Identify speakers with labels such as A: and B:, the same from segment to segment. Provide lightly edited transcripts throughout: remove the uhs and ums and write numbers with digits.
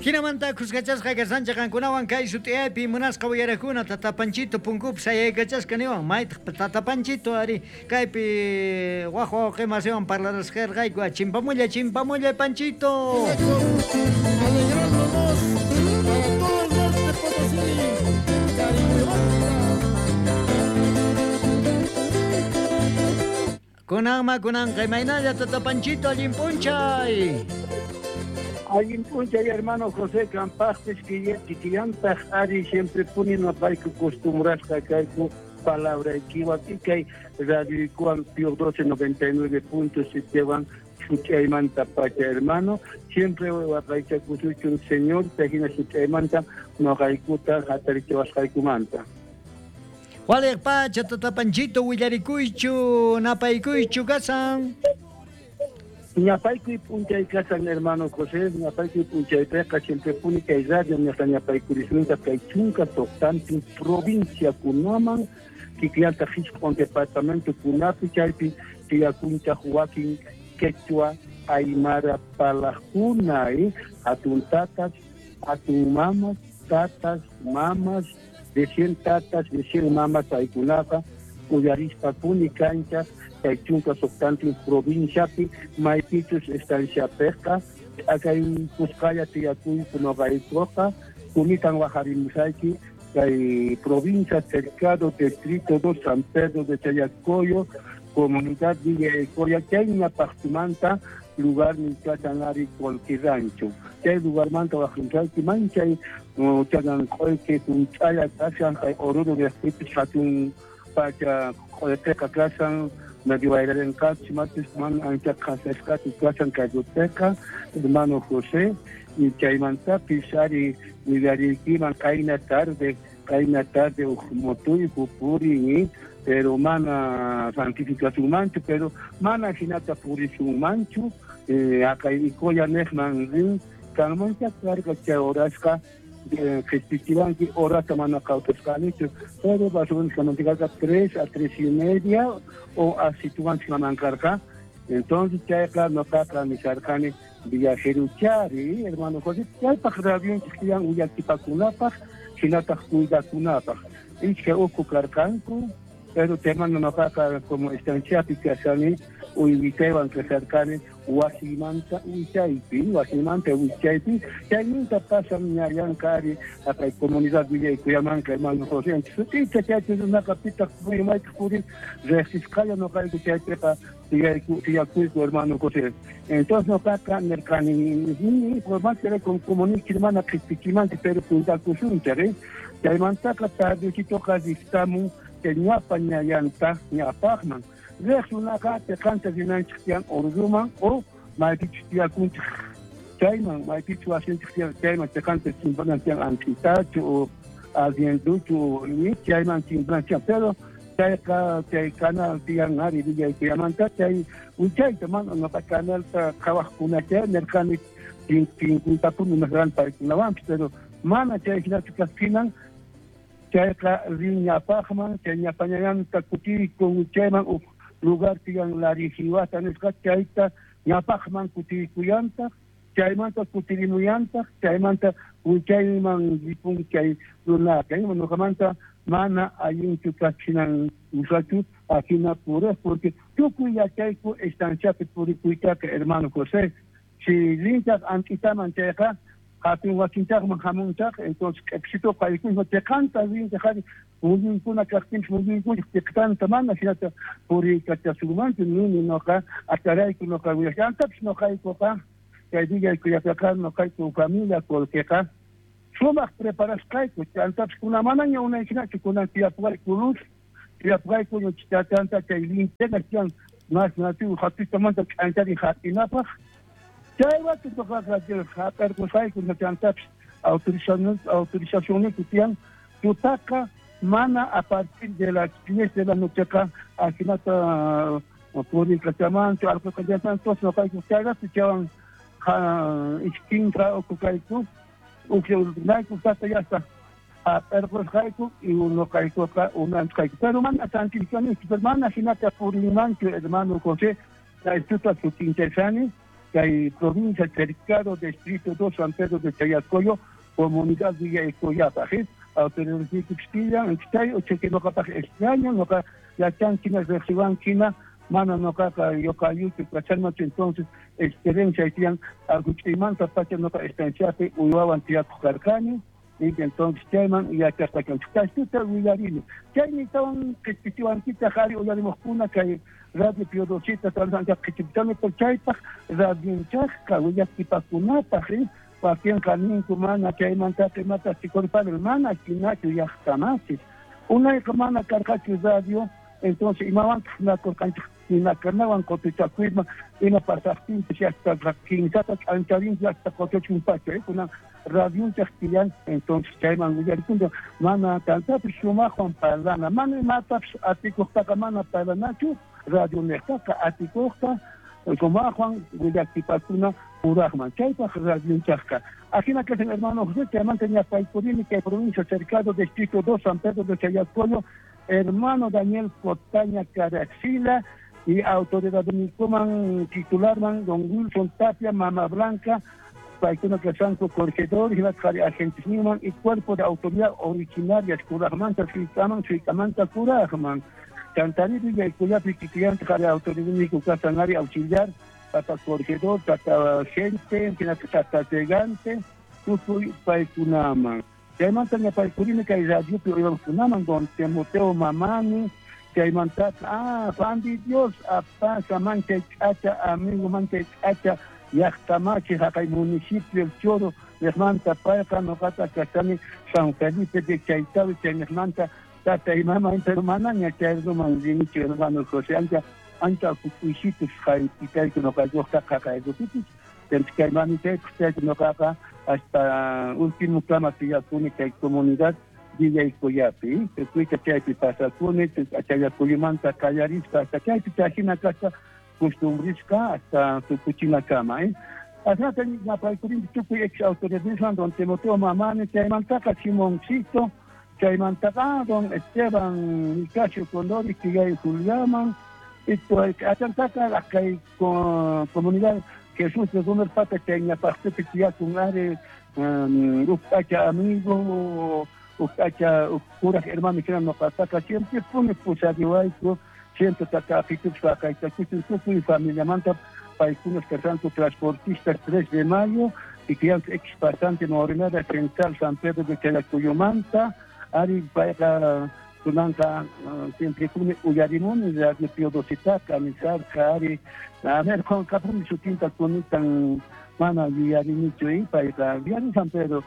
A: Jinamanta khuskachasqa kashanchej qankunawan kay sut'iyaypi munasqa uyarakuna Tata Panchito punkupi sayaykachasqa niwan maytaq Tata Panchito ari kaypi waj wawqe masiwan parlarasqarqayku chimpamulla chimpamulla Panchito.
B: Alegrándonos para todo el norte Potosí, Carihuevanta.
A: Kunanma kunanqa imaynalla Tata Panchito allin p'unchay.
C: Allin p'unchay hermano José kampaqpis kikillantaq ari siempre puni noqayku costumbrasqa kayku palabraykiwan y kay radioykuwan Pio 12 99.7 wan such'aymanta pacha hermano siempre waqaychakusuchun Señor hina such'aymanta noqaykuta hatarichiwasqaykumanta.
A: Waliq pacha Tata Panchito willarikuychu napaykuychu kasan.
C: Ñapaykuy p'unchay kasan hermano José, ñapaykuy p'unchaypiqa siempre puni kay radio ñaqa ñapaykurishunta kay chunka suqtantin provincia kunaman kikillanta jisq'un departamento kunapi chaypi tiyakunchaq wakin quechua aymara parlaqkuna hatun tatas, hatun mamas, tatas, mamas, de 100 tatas, de 100 mamas paykunaqa uyarispa puni kanchaq kay chunka suqtantin provinciapi maypichus estanciapiqa akay kusqalla tiyakuyku noqaykuqa kunitan wajarimusayki kay provincia Cercado distrito 2 San Pedro de Chayacoyo comunidad Villa Ecoya chay ñapaqtumanta lugar kasan ari Colquirrancho chay lugarmanta wajrimusayki manchay chanan q'uyki junch'alla kashan kay Oruro llaqtipis hatun pacha q'uyqiqa kashan medio wayrarinqachus matis mana ancha qhasasqachu kashan kay hermano José y chaymantapis ari willariykiman qayna tarde uj motuyku purin pero mana santificasunmanchu pero mana hinata purisunmanchu akay Icoya nejman rin kanmancha karqa chay horasqa qhispichiwanki horata mana qawtasqanichu pero más o menos kamantikarqa 3 a 3:30 o asituwanchik karqa entonces chayqa noqaqa nisharqani viajeruchari hermano José chaypaq radionchik tiyan uyakipakunapaq hinataq cuidakunapaq iskay ukhu karqanku pero temano noqaqa como estanciapi kashani uywitaywan kasharqani wasimanta wichaypi chayninta pasan ñallanqa ari akay comunidad Villa Icuyamanqa hermano José sut'icha chaypi runaqa pitaq purin maytaq purin riqsisqalla noqayku chaypiqa tiyakuyku hermano José entonces noqaqa nirqani por comunique mana qhispichimanchik pero cuidakusunchik chaymantaqa tardecitoqa ristamun chay ñapa ñallanta ñapaqman riq runaqa tiqanta rinanchik tiyan Oruruman o maypichus tiyakunchik chayman maypichus wasinchik tiyan chayman tiqanta chimpanan tiyan Anquitachu o Arrienduchu chayman chimpanan tiyan pero chayqa chay canal tiyan ari Villa Icuyamanta chay wichayta mana noqa canalta qhawaqkuna chay nirqani tinkuytapuni nirqani paykunawanpis pero mana chay hinachu kaqtinan chayqa rin ñapaqman chay ñapañallanta kutiykun chayman uj lugar tiyan Larijiwata nisqa chayta ñapaqman kutiykuyantaq chaymanta kutirimuyantaq chaymanta wichayman ripun chay runaqa noqamanta mana allinchu kachhinan usachu ajina puriq porque tukuy yachayku estanciapi purikuytaqa hermano José si rinchaq Anquitaman chayqa hatun wasinchaqman hamunchaq entonces q'ipsito qaykuyma tiqanta rinchaq ari muyuykuna kaqtinpis muyuykuna tiqtanta mana hinata puriykachasunmanchu nini noqa atarayku noqa willasqantapis noqaykuqa kay Villa Icuyapiqa noqayku familia Colqueqa sumaq preparasqayku chantapis kuna manaña unayhinachu kunan tiyapuwayku luz tiyapuwayku chanta chay linterna tiyan mas nativo hatutamanta k'anchari hap'inapaq chaywatu noqaqa hap'arqusqayku chantapis autorizacionniku tiyan tutaqa mana a partir de las 10 de la nocheqa ajinata puriykachamanchu alqaykachamanchu entonces noqayku chayratu chaywan ishkinqa ukukayku ukyayku tata yasta hap'arqusqayku y noqaykuqa unanchqayku pero mana santificanichu pero mana hinata purinmanchu hermano José chay tuta sutinchashani kay provincia Cercado, distrito 2, San Pedro de Chayacoyo, comunidad Villa Ecoyapaj, autoridad chay ucheque noqapaj extraño, noqa yachankina riqsiwankina, mana noqaqa yoqayuchu kachanmachu, entonces experiencia tiyan aguch'aymanta pacha noqa estanciapi uywawan tiyakuq karqani, y entonces chayman yachaspa kanchik. Kaytuta willarini. Chaymi tawan qhispichiwankita qhari uyarimuqkuna kay Radio Pío Docita ancha qhichipchani, pero chaypaq radionchaqqa willaktipakunapaq, wakinqa ninku mana chaymantaqa imata chikurpani, mana jinachu llaqtamachis. Unayqa mana karqachu radio, entonces imawantaq nakurqanchik ninakunawan qotuchakuyman ima pasaqtinpis hasta kinsata k'ancharinchik hasta qotuchun pacha, kunan radionchaq tiyan, entonces chayman willarikunchik mana tantapis sumaqwan parlana, mana imatapis atikuqtaqa mana parlanachu, radio niqtaqa atikuqta sumaqwan willakipakuna puraqman, chaypaq radionchaqqa. Ajina kashan hermano José, chaymanta ñapaykurini kay provincia Cercado, distrito 2, San Pedro de Chayacoyo, hermano Daniel Cotaña Caraxila y autoridad nikuman titularman don Wilson Tapia, Mama Blanca, paykuna kashanku corregidor, hinataq agentisninman y cuerpo de autoridad originarias kuraqmanta suykaman, suykamanta kuraqman. Chantari Villaykuyapi kikillantaq ari autoridad niku kasan ari auxiliar, tata corregidor, tata gente, hinataq tata llegante, tukuy paykunaman. Chaymanta ñapaykurini kay radiopi uywakunaman don Timoteo Mamani, chaymanta Juan de Dios apasa manchay k'acha amigo manchay k'acha llaqtamachi haqay municipio El Choro niqmanta payqa noqata kachani San Felipe de Chaytawi chayniqmanta tatay mamay, pero manaña chayruman rinichu hermano José, ancha ancha kukuysitus haypitayku noqaykuqta qaqaykupipis, kay mamitaykus chayku noqaqa hasta último kama tiyakuni kay comunidad Villaykuyapi, tukuyta chaypi pasakuni, Chayakuyumanta qallarispa hasta chaypi chayhina kaspa costumbrisqa hasta tukuchinakama. Asnata napaykurinchik tukuy ex autoridadniswan don Timoteo Mamani, chaymantaqa Simoncito, chaymantaqa don Esteban Nicasio Condori, Quillay Juliaman, achantaqa kay comunidad Jesús de Gómez Pata chay ñapaqpipi tiyakun ari uj p'acha amigo, uj p'acha uj kuraj hermano hina noqataqa siempre puni pusariwayku, siempre tatapitupis waqaytakuchun tukuy familiamanta paykunas kashanku transportistas 3 de mayo y que ex pasante Morenada Central San Pedro de Chayacuyumanta, ari payqa kunanqa siempre puni uyarimuni Radio Pío Docitaqa nisarqa ari a ver qonqapuni sutinta kunitan mana yuyarinichu payqa yuyari San Pedro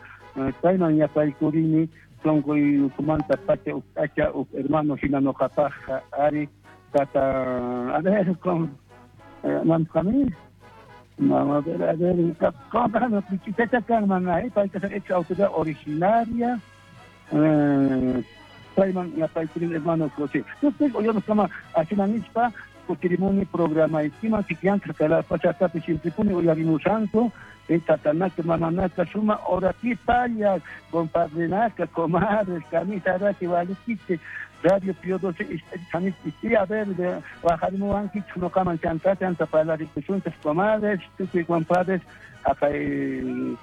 C: payman ñapaykurini sonqoy ukhumanta pacha uj p'acha uj hermano hina noqapaqqa ari tata a ver con mamqami a ver tata kanman payqa ex autoridad originaria payman ñapaykurini hermano José. Entonces uyariskama ajina nispa kutirimuni programaykiman kikillantaq kay pachatapi siemprepuni uyarimusanku tatanaka mamanaka suma horatipalla compadrenaka comadres camisa raki walikichik Radio Pío XII y a ver wajarimuwankichik noqaman chanta chanta parlarikusunchik comadres tukuy compadres haqay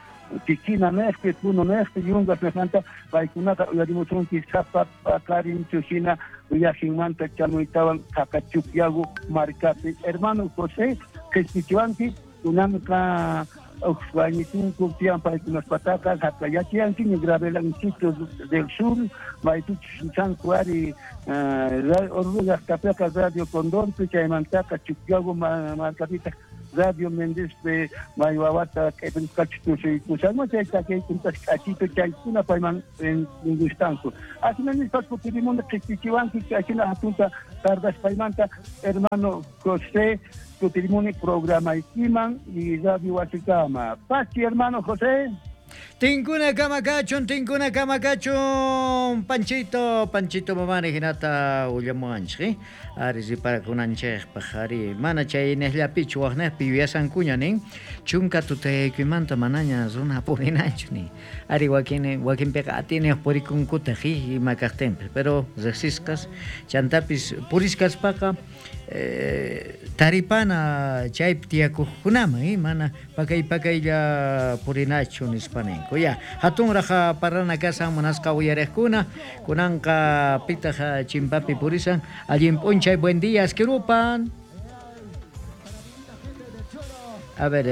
C: Tiquina nejpi, Puno nejpi, Yungas nejmanta paykunaqa uyarimusunchik sapa paqarinchu hina uyajinmanta chamuytawan Qaqachukyagu markapi. Hermano José qhispichiwanki kunanqa uj waynitunku tiyan paykunaspataqa haqayachiyankiña Gravelancito del Sur maypichus chanku ari Oruro llaqtapiqa Radio Condorpi chaymantaqa Chukyagu markapitaq Radio Méndezpi may wawata k'aypinisqachus tusuykushanman chay takaykuntas k'achito chaykuna payman gustanku. Ajina nispa kutirimuni qhispichiwanki ajina hatunta tardaspaymanta hermano José kutirimuni programaykiman y radio wasikama. Pachi hermano José.
A: Tinkuna kamakachun, tinkuna kamakachun, Panchito, Panchito mamani hinata ullamuwanchik, ari riparakunanchikpaq, ari mana chay niqllapichu waqnaqpi yuyasankuña nin, chunka tutaykuymanta manaña runa purinanchu nin, ari wakin wakinpiqa atiniq purikunkutaq ima kaqtinpis, pero riqsisqas chantapis puriskaspaqa Taripana chaypi tiyakujkunaman, mana pakay pakaylla purinachu nispa ninku. Ya, hatunraq parlana kashan munasqa uyariqkuna, kunanqa pitaq chimpapi purisan. Allin p'unchay, buen día, Askirupan. A ver,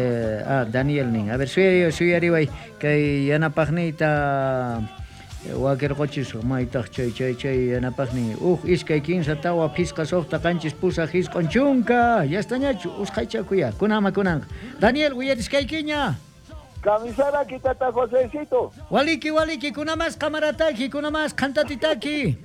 A: Daniel nin. A ver, suyariway kay yanapaqniyta wakirqochisqa maytaq chay chay chay yanapaqnin. Uj, iskay, kinsa, tawa, phisqa, suqta, qanchis, pusaq, isq'un, chunka. Yastañachu, usqhaychakuya. Kunama kunanqa. Daniel, uyariskaykiña.
D: Camisara tata Josecito.
A: Waliki, waliki, kunamas kamarataki, kunamas qantatitaki.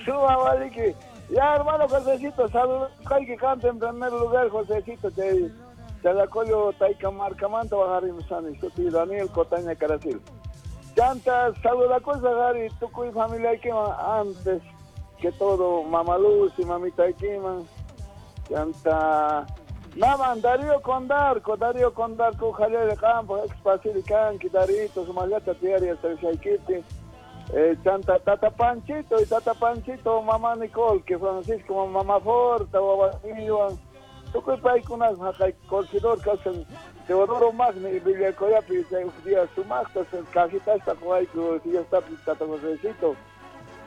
D: Suma waliki. Ya, hermano Josecito, saludos. Que canta en primer lugar, Josecito, te Chalacoyo Taika Marcamanta Bajarimsani, Suti Daniel Cotaña Caracil. Chanta, saluda cosa Gary, tukuy familia Ikiman, antes que todo, mamá Luz y mamita Ikiman. Chanta, Naman, Darío Condarco, Darío Condarco, Javier de Campo, ex Pasilicanqui, Darito, Sumayata, Tiari, hasta el Shaikiti. Chanta, Tata Panchito y Tata Panchito, mamá Nicole, que Francisco, mamá Forta, Babaniwan. Tukuy paykunas haqay corregidor kasan Teodoro Magni y Villacoyapi chay día sumaqta cajitasta qoyku fiestapi tata Josecito.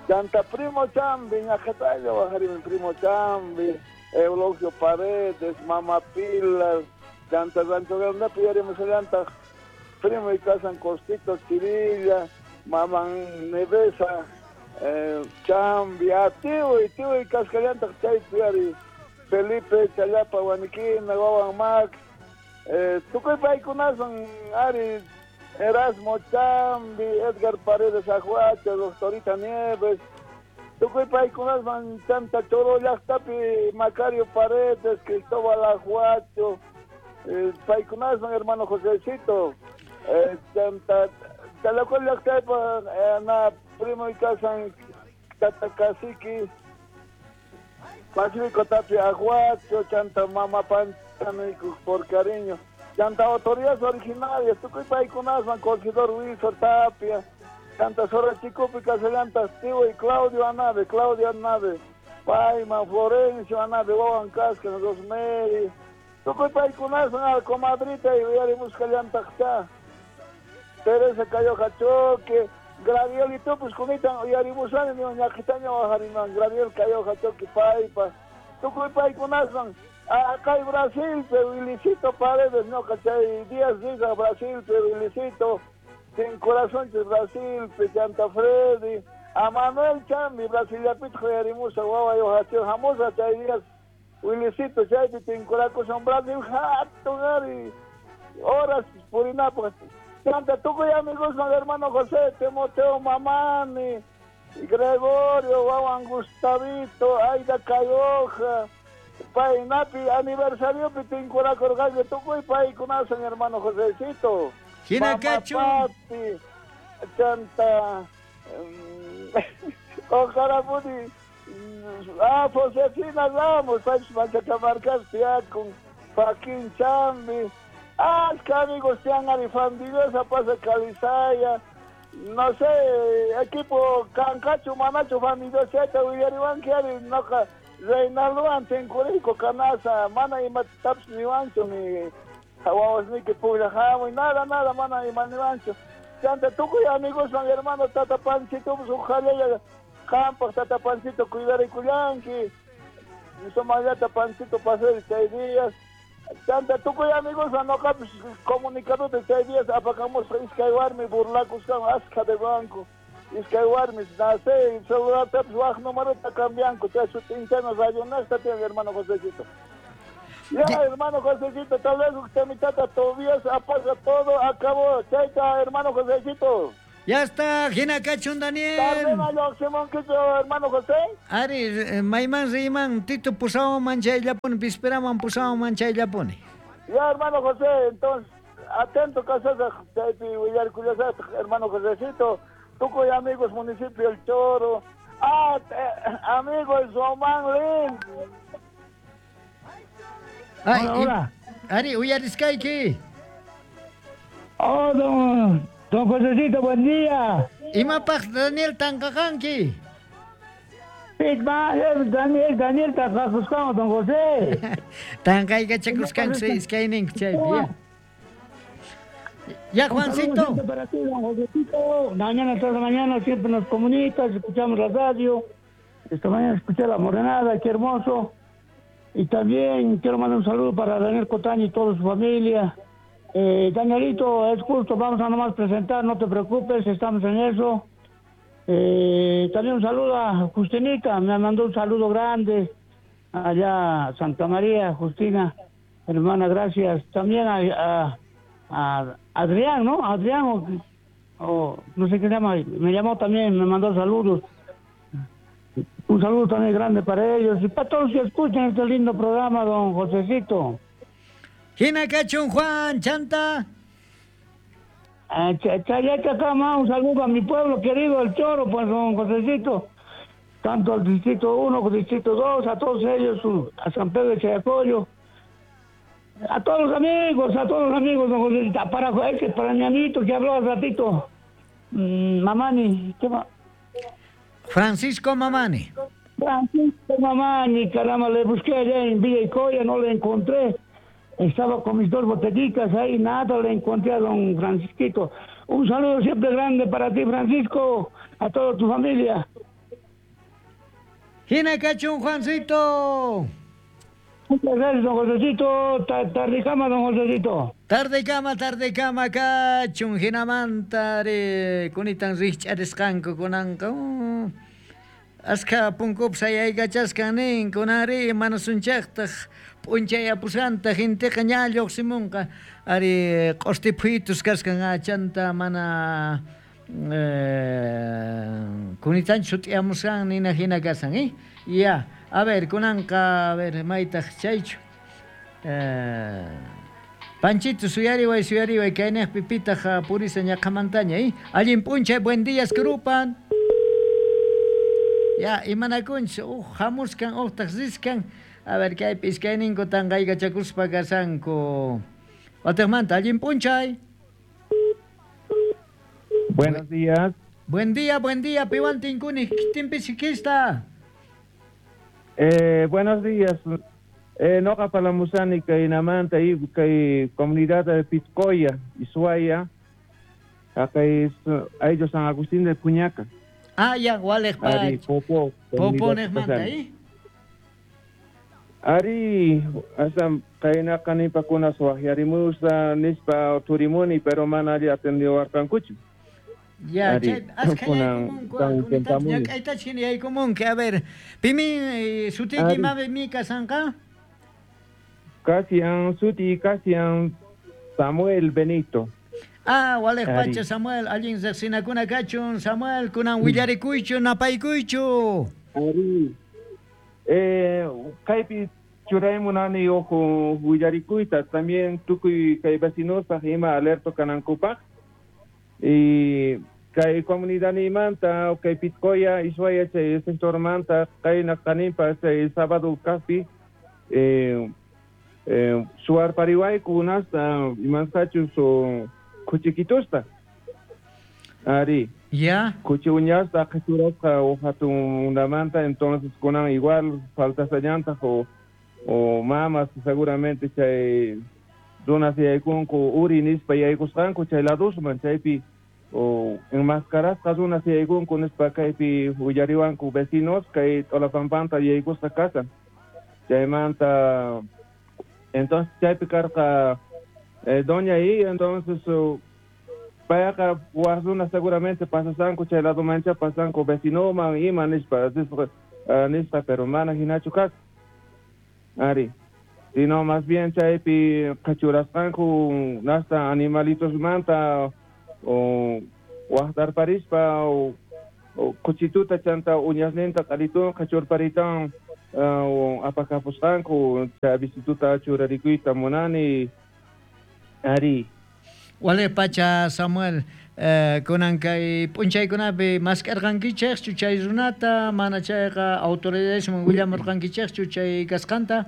D: Chanta primo Chambi, ñaqhatalla wajarimi primo Chambi, Eulogio Paredes, Mama Pilar, Chanta Rancho Grandepi yarimusallantaq primo y kasan Costito Chirilla, Maman Nevesa, Chambi, atiwi, tiwi kaskallantaq chaypi yari Felipe Chayapa, Huaniquina, Wawan Max, tukuy paykunasan ari Erasmo Chambi, Edgar Paredes Ajuacha, Doctorita Nieves, tukuy paykunasan Chanta Choro llaqtapi, Macario Paredes, Cristóbal Ajuacho, paykunasan hermano Josecito, Chanta Chalacol llaqtapa, na primo y kasan Tata Cacique, Pacífico Tapia Aguacho, Chanta Mama Pancha, por cariño. Chanta autoridades originarias, tukuy paykunasman, corregidor Wilson Tapia, Chanta Zorra Chicupi, Caselanta, Tivo y Claudio Anabe, Paima, Florencio Anabe, Wawan Casca, Rosemary, tukuy paykunasman, al comadrita y Yarimusca Llantaqcha, Teresa Cayoja Choque, Gradiel y tú, pues kunitan uyarimusani, ñaqhitaña wajariman, Gradiel Cayoja Choque, Paipa, tukuy paykunasman, acá Brasil, pero Wilicito Paredes, no, cachay, Díaz Diga, Brasil, pero Wilicito, sin corazón, Brasil, Chanta Freddy, a Manuel Chambi, Brasil, Yapit, Joyarimusa, Guava, Yohacho, Jamusa, chay Díaz, Wilicito, Chaypi, Tincuraco, Brasil, jato, gari, horas, Purinapo, Chanta, tukuy amigos, hermano José, Timoteo Mamani, Gregorio, Wawan Gustavito, Aida Cayoja, Painapi, aniversario, Pitincuracorgallo, tukuy paykunasan, hermano Josecito.
A: Hinakachu.
D: Papi, Chanta, Ojarapuni, Josefina Ramos, Pachis Machacamarcas, Tiacun, Joaquín Chambi, Asca amigos, Tian Arifandillosa, pasa Calizaya, no sé, equipo Cancacho, Manacho, Fandillosa, Willariwan, Kiari, Noja, Reinaldo, Tincurico, Canasa, Mana y Mataps, Niwancho, mi Hawawasniki, Puglajamu, nada, nada, Mana y Maniwancho. Chanta, tukuy amigos, mi hermano Tata Panchito, pues ojalá Campas, Tata Panchito, cuidar y cuyanqui, Somayata Panchito, pasé 6 días. Chanta, tukuy amigos, anoka, pues, comunicado de 6 días, apagamos iskaywarmi, burlacos, asca de banco, iskaywarmi, nace, celular, pues, waj número, ta cambianco, te su tinchano, radio, no está, tiene hermano Josecito. Ya, hermano Josecito, tal vez usted mi tata Tobías apaga todo, acabó, chaita, hermano Josecito.
A: Ya está, Hinakachun Daniel.
D: Hermano José.
A: Ari, Mayman Riman, Tito pusawaman chayllapuni, visperaman pusawaman chayllapuni.
D: Ya, hermano José, entonces, atento, casasa, chaypi willarkullasaq, hermano Josecito, tukuy amigos, municipio El Choro, amigos, Román Lin.
A: Ay,
E: Hola, hola.
A: Ari, uyariskayki.
E: Oh, don Josecito, buen día.
A: Imapaq Daniel tanqaqanki.
E: Daniel, Daniel, tanqakusqanku, don José.
A: Tanqaykachakusqanku iskayninku chaypi, ya. Ya, Juancito.
E: Para ti, don Josecito. Mañana tras mañana siempre nos comunicas, escuchamos la radio. Esta mañana escuché la morenada, qué hermoso. Y también quiero mandar un saludo para Daniel Cotaño y toda su familia. Danielito, es justo, vamos a nomás presentar, no te preocupes, estamos en eso. También un saludo a Justinita, me mandó un saludo grande allá a Santa María, Justina, hermana, gracias. También a Adrián, ¿no? Adrián, o no sé qué se llama, me llamó también, me mandó saludos. Un saludo también grande para ellos y para todos los que escuchan este lindo programa, don Josecito.
A: Hina kachun, Juan, chanta.
E: Chayachacama, un saludo a mi pueblo querido, el Choro, pues, don Josecito. Tanto al Distrito 1 como al Distrito 2, a todos ellos, a San Pedro de Chayacoyo. A todos los amigos, don Josecito. Para mi amiguito que habló al ratito, Mamani, ¿qué va?
A: Francisco Mamani.
E: Francisco Mamani, caramba, le busqué allá en Villa Icoya, no le encontré. Estaba con mis dos botellitas ahí, nada, le encontré a don Francisquito. Un saludo siempre grande para ti, Francisco, a toda tu familia.
A: Hina kachun, Juancito.
E: Muchas gracias, don Josecito. Tardecama, don Josecito.
A: Tardecama, kachun. Hinamanta, kunitan rikch'arisqanku kunanqa. Askha punkupi sayaykachaskan nin, kunanri manasunchaqtaq p'unchayapusqanta genteqa ña lluqsimunqa. Ari q'usti phuyitus kaskan achanta mana kunitanchu sut'iyamusqan nina hina kasan, eh? Ya, a ver, kunanqa, a ver, maytaq chaychu. Panchito, suyariway, suyariway, kayniqpi pitaq purisa ñaqhamantaña, eh? Allin p'unchay, buen días, krupan. Ya, imanakunchis, hamuskan, uqtaq riskan. A ver, kaypi iskayninku tanqaykachakuspa kasanku. Wataqmanta, allin p'unchay.
F: Buenos días.
A: Buen día, piwan tinkuni, kitinpi sikista.
F: Buenos días. Noqa palamusani kaynamanta y kay comunidad de Pitcoya, Isuaya, acá es a San Agustín de Puñaca.
A: Ah, ya, waleq
F: Ari, Popo.
A: Popo nejmanta, ¿eh?
F: Ari, hasta kayna kanipakuna suajiarimusa, nispa turimuni, pero mana ari atendió arcancucho.
A: Ya, chay, askha a ver, pimi sutiki mabe mi kasanqa?
F: Casian, suti Casian Samuel Benito.
A: Ah, waleq pacha Samuel, allin riqsinakuna kachun, Samuel, kunan willarikuychu, napaykuychu.
F: Ari, kaypi churaymunani ojo willarikuyta, también tukuy kay vecinospaj ima alerto kanankupaj. Y kay comunidadnimanta, kay Pitcoya, Isuaya, chay sectormanta, kay naqanimpa, chay sábado kaqpi, suarpariwayku unasta, imansachus o kuchikitusta. Ari.
A: Ya.
F: Kuchi uñasta qhichurasqa o hatunamanta, entonces kunan igual falta llanta o mamas seguramente chay runas yaykunku uri nispa yaykusqanku chay ladusman chaypi o enmascarasqa runas yaykunku nispa kaypi willariwanku vecinos kay Tolapampanta yaykusqa kasan. Chaymanta entonces chaypi karqa doña ahí, entonces payqa waj runas seguramente pasasanku chay ladomancha pasanku vecinoman ima nispa nispa pero mana hinachu kasqa. Ari. Sino más bien chaypi qhachurasqanku nasta animalitos manta o waqtarparispa o kuchituta chanta uñasninta q'alitun qhachurparitan o apakapusqanku chay visituta churarikuyta munani. Ari.
A: Wale pacha Samuel, kunan kay p'unchaykunapi mask'arqankichikchu chay runata, mana chayqa autoridadesman willamurqankichikchu chay kasqanta?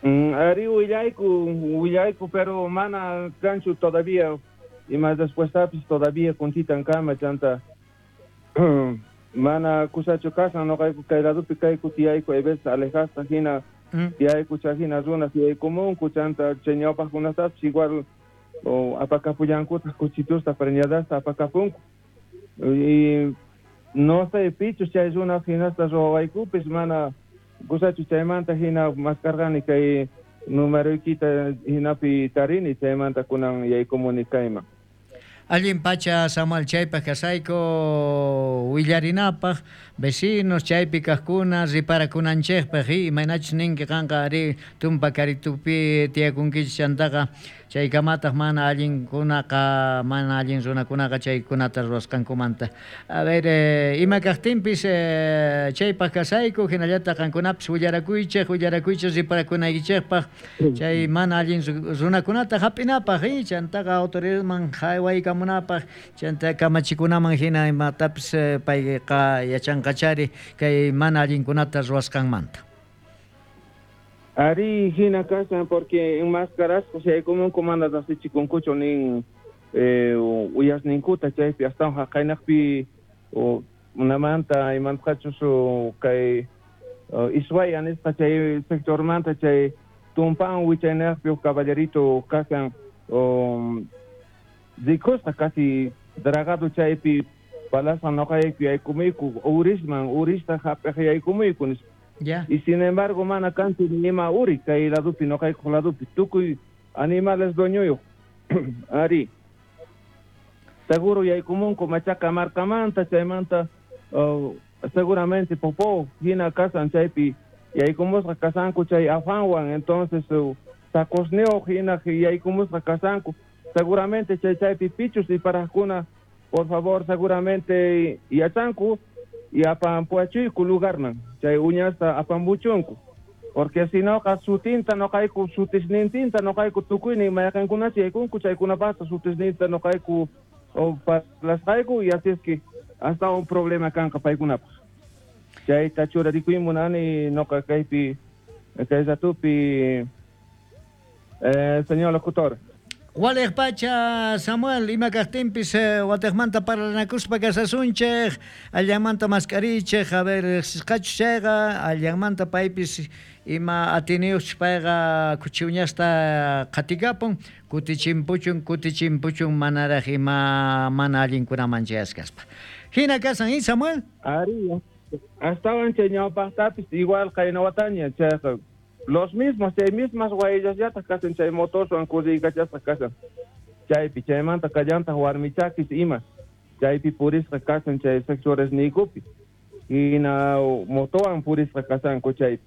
F: Ari willayku, pero mana kanchu todavía, y más después todavía kuntitan kama chanta. Mana kusachu kasan noqayku kay ladopi kayku tiyayku hay veces alejasqa hina tiyayku chay hina runas yaykumunku chanta chay ñawpaqkunatapis igual apakapullankutaq kuchitusta preñadasta apakapunku. Y no sé pichus chay runas hinasta ruwawaykupis mana kusachu chaymanta hina maskarqani kay numeroykita hinapi tarini chaymanta kunan yaykumuni kayman.
A: Allin pacha Samuel chaypaq kasayku willarinapaq vecinos chaypi kaqkuna riparakunanchikpaq imaynachus ninki qanqa ari tumpa karitupi tiyakunkichis chantaqa chaykamataq mana allinkunaqa mana allin runakunaqa chaykunata ruwasqankumanta. A ver, ima kaqtinpis chaypaq kasayku hinallataq qankunapis willarakuychik willarakuychik riparakunaykichikpaq chay mana allin runakunata hap'inapaq chantaqa autoridadman haywaykamunapaq chanta kamachikunaman hina imatapis payqa yachanqachari kay mana allinkunata ruwasqanmanta.
F: Ari hina kasan porque enmascarasqa yaykumunku mana riqsichikunkuchu nin uyasninkuta chaypi astawan haqaynaqpi unamanta imantaqachus kay Iswaya nisqa chay sectormanta chay tumpan wichaynaqpi huk caballerito kasan rikusqa casi dragado chaypi balasqa noqayku yaykumuyku urisman urista hap'iq yaykumuyku nispa.
A: Ya.
F: Y sin embargo mana kanchu ni ima uri kay ladopi noqaykuq ladopi tukuy animales dueñoyuq. Ari seguro yaykumunku machaca marcamanta chaymanta seguramente popó hina kasan chaypi yaykumusqa kasanku chay afanwan entonces sacosneo hina yaykumusqa kasanku seguramente chay chaypi pichus y parajkuna por favor seguramente yachanku y apampuachuyku lugarman chay uñasta apambuchunku porque si no qa sutinta noqayku sutisnintinta noqayku tukuynin mayqankunachu yaykunku chaykunapaqta sutisninta noqayku parlasqayku y así es que hasta un problema kanqa paykunapaq chayta churarikuy munani noqa kaypi kay ratupi señor locutor.
A: Waliq pacha Samuel ima kaqtinpis watiqmanta parlanakuspa kasasunchik allanmanta mask'arichik a ver riqsisqachus chayqa allanmanta paypis ima atiniyuqchus payqa khuchi uñasta qhatikapun kutichimpuchun kutichimpuchun manaraq ima mana allinkunaman chayasqaspa. Hina kasan y Samuel?
F: Ari astawan chay ñawpaqtapis igual qaynawataña chayqa los mismos chay mismas wayllasllataj kasan chay motorwan kurriykachasqa kasan chaypi chaymanta kallantaq warmichakis ima chaypi purisqa kasan chay sectores niykupi hina motowan purisqa kasanku chaypi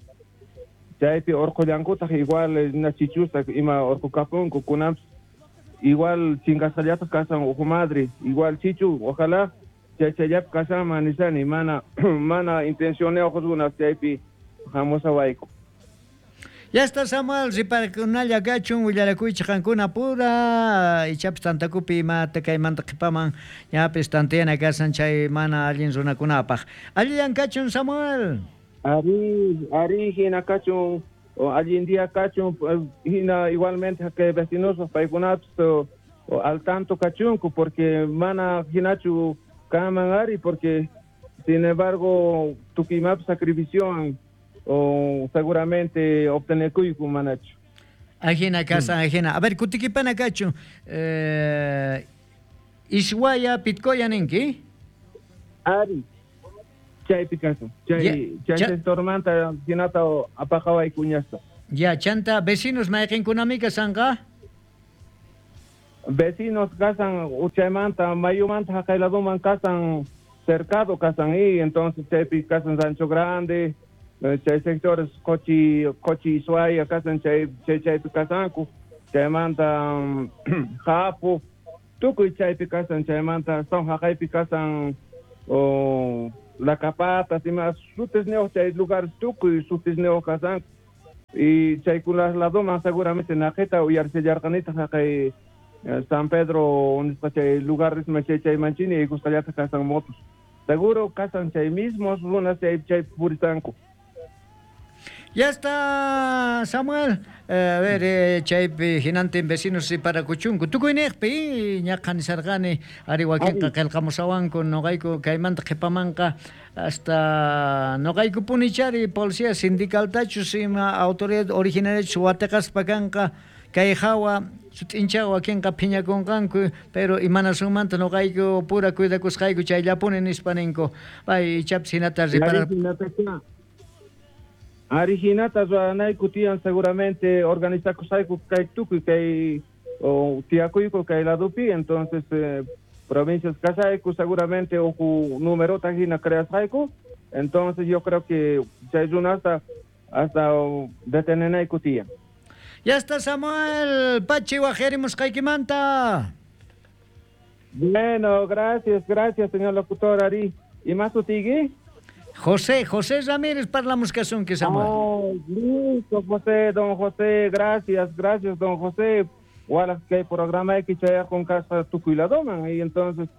F: chaypi urqullankutaq igual na chichusta ima urqukapunku kunanpis igual chinkasqallataq kasan uhu madre igual chichu ojalá chay chayllapi kasanman nishani mana mana intencioniyuq runas chaypi hamusawayku.
A: Ya está Samuel, riparakunalla kachun willarakuychik qankuna pura ichapis tantakupi imata kaymanta qhipaman ñapis tantiyana kasan chay mana allin runakunapaq. Allillan kachun Samuel.
F: Ari ari hina kachun allin día kachun hina igualmente kay vecinos paykunapis al tanto kachunku porque mana hinachu kaman ari porque sin embargo tukimapis sacrificiowan o seguramente obtenekuyku manachu.
A: Ajina casa, ajina. A ver, kutikipana kachu. Iswaya Pitcoya ninki?
F: Ari. Chaypi kasan. Chay chay sectormanta hinata apaqawayku uñasta.
A: Ya, chanta vecinos mayqinkunami kasanqa?
F: Vecinos kasan chaymanta mayumanta haqay ladoman kasan cercado kasan y entonces chaypi kasan Rancho Grande chay sectores Cochi Cochi Iswaya kasan chay chay chaypi kasanku chaymanta Japu tukuy chaypi kasan chaymanta son haqaypi kasan La Capata ima sutisniyuq chay lugares tukuy sutisniyuq kasanku y chaykunas ladoman seguramente naqita uyarsillarqanitaq haqay San Pedro nisqa chay lugares chay chaymanchini yaykusqallataq kasan motos seguro kasan chay mismos runas chay chay purisanku.
A: Ya está, Samuel. A ver, chaypi hinantin vecinos parakuchunku. Tukuyniqpi ñaqa nisarqani ari wakinqa qillqamusawanku noqayku kaymanta qhipamanqa hasta noqaykupuni chari policía sindicaltachus ima autoridad originariachus watiqaspa kanqa kay hawa sut'inchaqa wakinqa phiñakunqanku pero imanasunmanta noqayku pura cuidakusqayku chayllapuni nispa ninku. Pay ichapis hinata reparar.
F: Ari hinata ruwanayku tiyan seguramente organizakusqayku kay tukuy kay tiyakuyku kay ladopi, entonces provincias kasayku seguramente uku numerota hina creasqayku, entonces yo creo que chay runasta hasta detenenayku tiyan.
A: Ya está Samuel Pachi wajerimusqaykimanta.
F: Bueno, gracias, gracias señor locutor Ari. ¿Y más sutigi?
A: José Ramírez, parlamus kasunki Samuel.
F: Oh, listo, José, don José, gracias, gracias, don José. Wala kay programa que chaya con casa tukuy-ladoman y entonces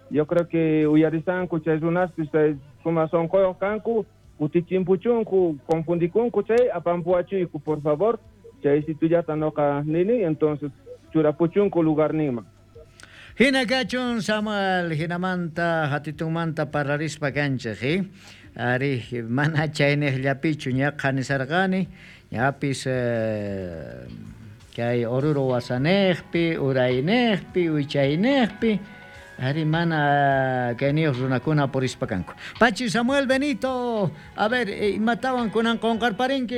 F: yo creo que uyarisanku chay runaspis chay suma sonqoyuq kanku kutichimpuchunku confundikunku chay apampuachuyku por favor chay situllata noqa nini entonces churapuchunku lugarninman.
A: Hina kachun Samuel, hinamanta hatitunmanta parlarispa kanchik, Ari mana chayniqllapichu ñaqa nisarqani ñapis kay Oruro wasaniqpi, urayniqpi, wichayniqpi ari mana kayniyuq runakuna purispa kanku. Pachi Samuel Benito, a ver, imatawan kunan qunqarparinki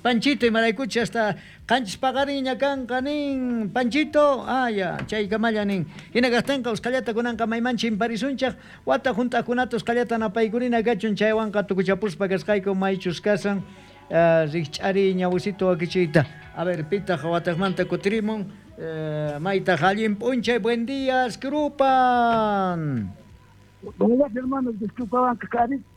A: Panchito imaraykuchi hasta qanchis paqarinña kanqa nin Panchito, ya, chaykamalla nin. Hina kaqtinqa usqhallata kunanqa mayman chimparisunchaq wata hunt'aqkunata usqhallata napaykurina kachun chaywanqa tukuchapuspa kasqayku maychus kasan rikch'ariy ñawisito wakichiyta. A ver, pitaq wataqmanta kutirimun. Maytaq allin p'unchay, buen día, Scrupan.
C: Buenas hermanos, disculpaban que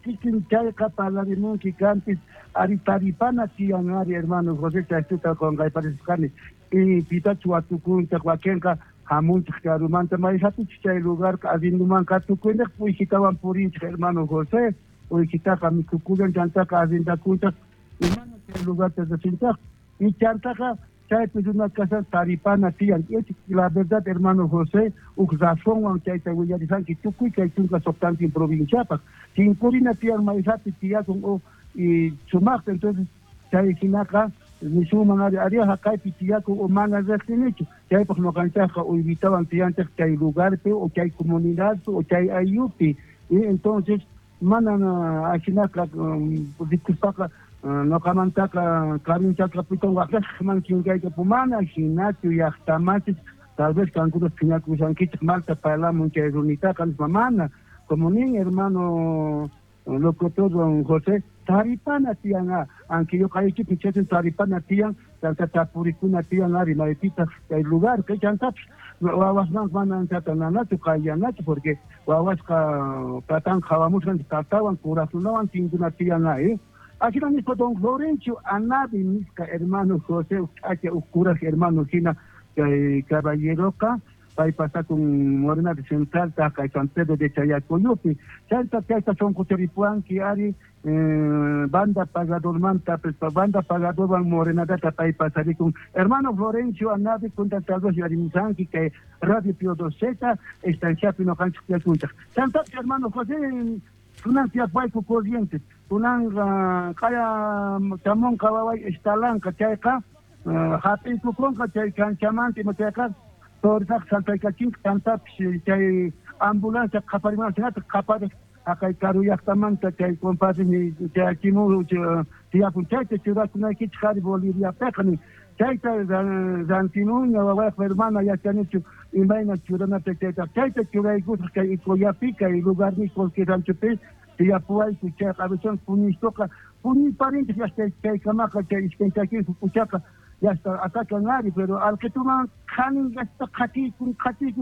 C: kikin chayqa parlarimunki kanpis ari taripana tiyan ari hermano José chaytuta qunqayparisqani y pitachu watukunchaq wakinqa hamunchaq karumanta mayhapichus chay lugarqa arrendumanqa tukuyniq uykitawan purinchik hermano José uykitaqa mikhukullan chantaqa arrendakunchaq y mana chay lugarta riqsinchaq y chantaqa chaypi runa kashan taripana tiyan. La verdad, hermano José, uk razonwan chayta willarisanki tukuy kay chunka suqtantin provinciapaq. Tinkurina tiyan mayhapi tiyakun o y sumaqta, entonces chay hinaqa nisunman ari ari haqaypi tiyakun o mana riqsinichu. Chaypaq ñuqanchaqqa uywitawan tiyanchaq chay lugarpi o chay comunidadpi o chay ayllupi. Y entonces mana ajinaqa rikuspaqa noqamantaqa karunchaqapitan waqllasqman chinkaykapu mana hinachu llaqtamachis tal vez kankuna phiñakushankichik malta parlamun chay runitaqa nispa mana como nin hermano locutor don José taripana tiyan aunque ñuqaykipi chaytin taripana tiyan chanta tapurikuna tiyan ari maypitaq chay lugar kay chantapis wawasman mana anchata nanachu qayllanachu porque wawasqa tatan qhawamusqan tatawan kuraqkunawan tinkuna tiyan ari. Ajina nispa don Florencio Anabi nisqa hermano José k'acha uj kuraj hermano hina kay caballeroqa pay pasakun Morena de Central kay San Pedro de Chayacoyupi chayta chayta sunqucharipuwanki ari banda pagadormanta banda pagadorwan Morenadata pay pasarikun hermano Florencio Anabi kuntan tal vez yarimusanki kay Radio Pío XII estanciapi noqanchik tiyakunchaq chantapis hermano José kunan tiyapuwayku Corrientes kunan qaya chamunqa waway estalanqa chayqa hap'iykukunqa chay kanchamanta ima chayqa tortaq saltaykachinqa chantapis chay ambulancia qhaparimunqa hinataq qhapariq haqay karu llaqtamanta chay compadre chayachimun tiyapun chayta churakunaykichik ari Boliviapiqa nin chayta rantimunña wawayqa hermana yachanichu imayna churanata chayta chayta churaykusaq kay Icoyapi kay lugarni Colque ranchopi tiyapuwayku chayqa avisan puñistoqa puñiparinchik yasta chaykamaqa chay iskay puchaqa yasta atacan ari pero alqituman qhanin yasta qhatiykun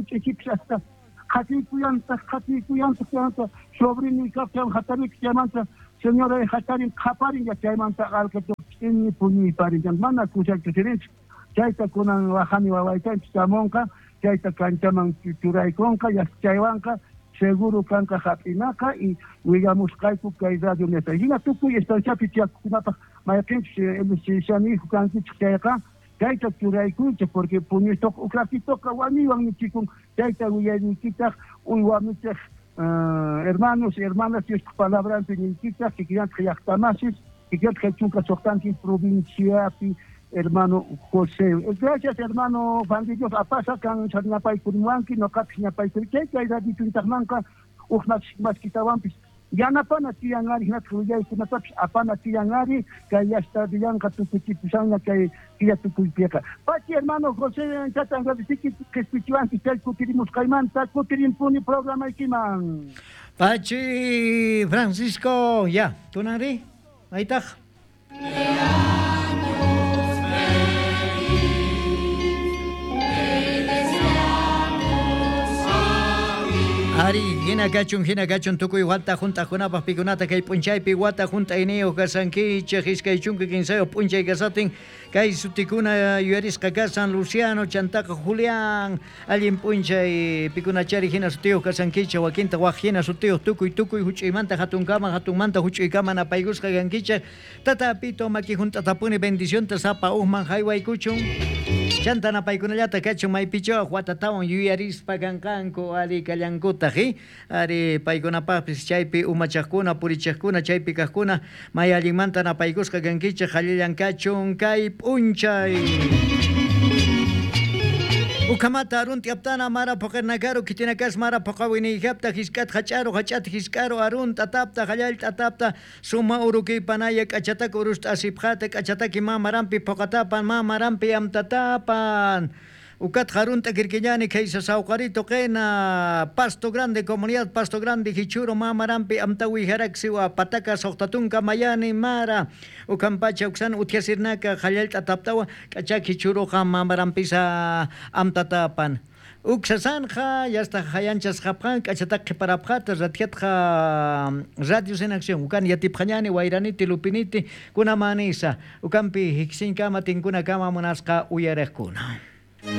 C: ch'ichipis hasta qhatiykuyantaq chaymanta sobrini kaqchan hatarik chaymanta señora hatarin qhaparin chaymanta alqitu ch'inni puñiparin mana kushachu rinchik chayta kunan wajani wawaytanchik chamunqa chayta kanchaman churaykunqa yasta chaywanqa Seguro kanqa hap'inaqa y willamusqayku kay radio neta. Hina tukuy estanciapi tiyakuqkunapaq mayqinchus MSC kankichik chayqa chayta churaykuychik porque puñuytoq ukratitoqa wañuywan nichikun chayta willayniykitaq uywamichik hermanos y hermanas Diospa palabranpi niykichaq kikillantaq llaqtamasis kikillantaq 16 provinciapi hermano José. Gracias hermano Juan de Dios apasa kan ñapaykurimuwanki noqapis ñapaykuri chay kay radiochuntaqmanqa uj maskitawanpis yanapana tiyan ari hinataq willaykunatapis apana tiyan ari kay llaqta tukuchipusanña kay killa tukuypiqa. Pachi hermano José chatan agradeciki qispichiwanki chay kutirimusqaymanta kutirimpuni programaykiman.
A: Pachi Francisco, ya, tunanri, maytaq. Ari, hina kachun tukuy wata junt'aqkunapaq pikunata kay p'unchaypi wata junt'ayniyuq kasankichik 23 p'unchay kasatin kay sutikuna yuyarisqa kasan Luciano chantaqa Julián allin p'unchay pikunachari hina sutiyuq kasankichik wakinta waq hina sutiyuq tukuy tukuy huch'uymanta hatunkama hatunmanta huch'uykama napaykusqa kankichik tata Pito maki junt'atapuni bendicionta sapa uqman haywaykuchun chanta napaykunallata kachun maypichawaq watatawan yuyarispa kanqanku ari kallankutaq ari paykunapaqpis chaypi umachaqkuna purichaqkuna chaypi kaqkuna may allinmanta napaykusqa kankichik allillan kachun kay p'unchay. Ukamata arunti aptana mara poqernakaru kitinakas mara poqawiniyjapta hisk'at hach'aru hach'at hisk'aru arun t'atapta hallal t'atapta suma uruki panaya k'achataka urusta asipqata k'achataki mamarampi poqatapan mamarampi amtatapan. Ukat jarunta kirkiñani kaysa sawqarito qena Pasto Grande comunidad Pasto Grande hichuro mamarampi amtawi haraksiwa pataka suqtatunka mayani mara ukampacha uksan uthiasirnaka hallal t'ataptawa k'achak hichuruqa mamarampisa amtatapan. Uksasanja, ya está hayanchas japjan, k'achataq qhiparapqata, rathiatqa radios en acción, ukan yatipqañani, wayraniti, lupiniti, kunamanisa, ukampi hiksinKama, tinkunakama munasqa uyariqkuna.